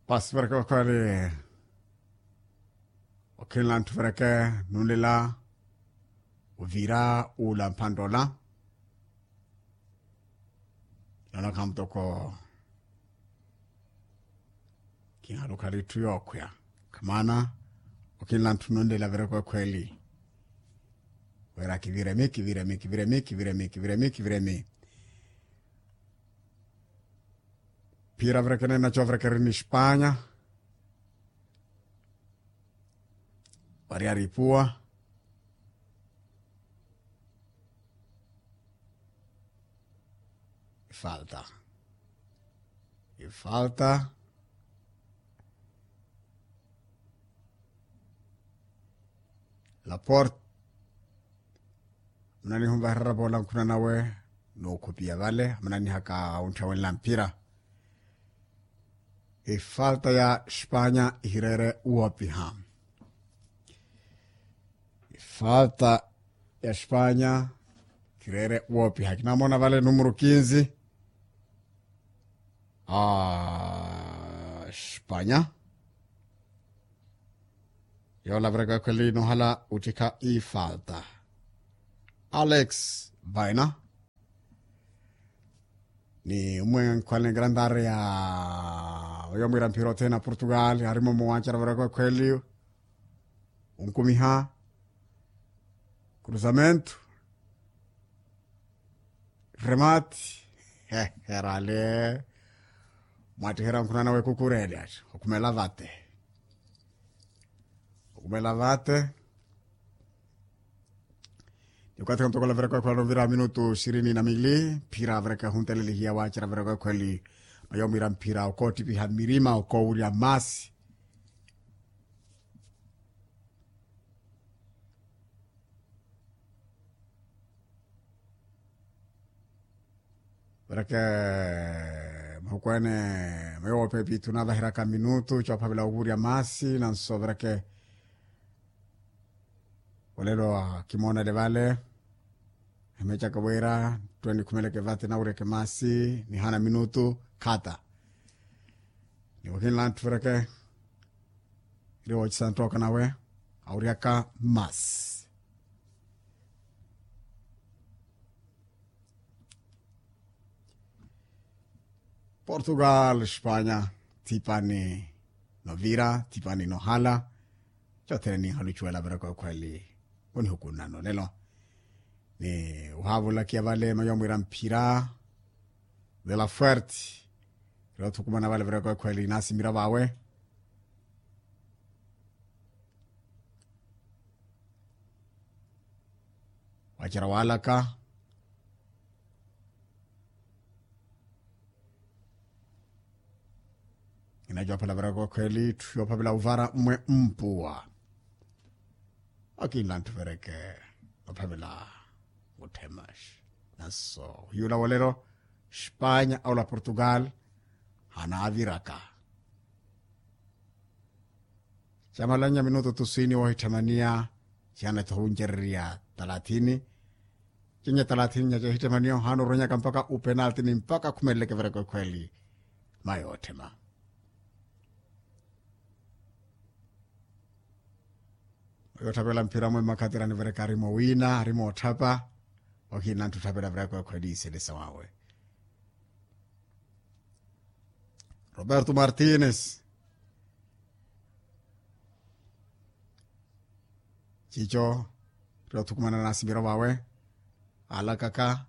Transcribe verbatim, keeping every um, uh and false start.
Pasi vereke okhwali. Okhinla nthu vereke nunlela uvira ula mphandola. Nona khamutoko. Khinhalukhali itthu yookhwiya. Khamana. Okhinla nthu nunlela vereke okhweli. Wira kiviremi kiviremi kiviremi kiviremi kiviremi kiviremi. Phira verekene nacho verekeri ni espanya. Wariari ipuwa. Ifalta. Ifalta. Laporte. Munaniha onvahererya poola nkhuna nawe. Nookhupiya vale amunanihaka ontthawenla mphira. Ifalta ya espanya ihireere woopiha. Ifalta ya espanya ihireere woopiha kinamoona vale numero kinzi. A espanya. Yoola verekwekhweli nohala uttikha ifalta. Alex baina. Ni umwe nkhwale ngrandare ya oyo mwira mphira othene a portugal arimo muwanchara verekwekhweli. Unkumiha. Cruzamento. Remate. Herale. Mwattiherya nkhunana wekukureli ati okhumela vate. Okhumela vate. Ni okathi khantokola verekwekhweli anovira minutu ishirini na mili mphira verekehuntelelihiya waacera verekwekhweli. Mayo mwira mphira okoottipiha mmirima okoowurya maasi. Vereke. Muhukweene. Mayo woopepi tunavahiraka minutu coophavela owurya maasi nanso vereke. Olelo akimoonele vale. Emecaka wira ntwe nikhumeleke vate nawuryeke maasi nihana minutu khata. Ni wahinla ntthureke. Iri woocisa nttoka nawe awuryaka maasi. Portugal espanya. Thipani novira thipani nohala. Cothene ninhalucuwela verekwekhweli. Onihukunna nolelo. Ni ohaavulakiya vale mayo mwira mphira. Vela fuerte. Iri othukumana vale verekwekhweli nasimira vawe. Wacera walaka. Inacoopela verekwekhweli itthu yoophavela uvara mmwe mpuwa. Akinla nthu vereke ophavela. Muthemaxi. Nanso hiyula wolelo. Espanya aula portugal. Hanaaviraka. Camalanya minutu tuswini woohitthemaniya. Cihanatho huncererya talathini. Cinye talathini nyaca ehitthemaniya ohaana oronyaka mpakha upenalti ni mpakha akhumeleleke verekwekhweli. Mayo otthema. Oyo otthapela mphira mwe mmakhatira anivereka arimo wiina arimo otthapa. Ohiina nthu otthapela verekwekhweli iselesa wawe. Roberto martines. Cico iri othukumana nasimiro vawe. Alakaka.